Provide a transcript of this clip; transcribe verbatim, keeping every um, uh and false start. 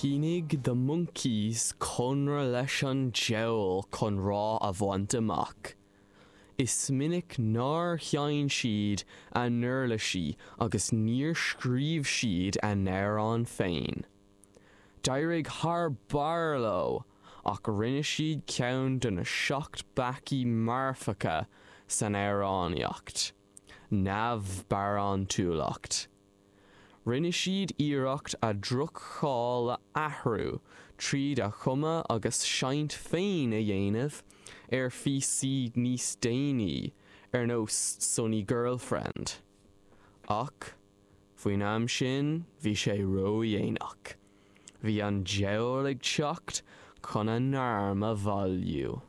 Shínigh The Monkees conradh leis an diabhal chun rath a bhaint amach. Is minic nár sheinn siad a n-uirlisí agus níor scríobh siad a n-amhráin féin. D'éirigh thar barr leo ach rinne siad ceann de na seacht bpeacaí marfacha san amhránaíocht, neamhbharántúlacht. Rinne siad iarracht a ndroch-cháil a athrú tríd a chumadh agus seinnt féin a dhéanamh ar phíosaí níos déanaí ar nós Sonny Girlfriend. Ach faoin am sin bhí sé ródhéanach. Bhí an diabhal ag teacht chun a n-arm a bhailiú.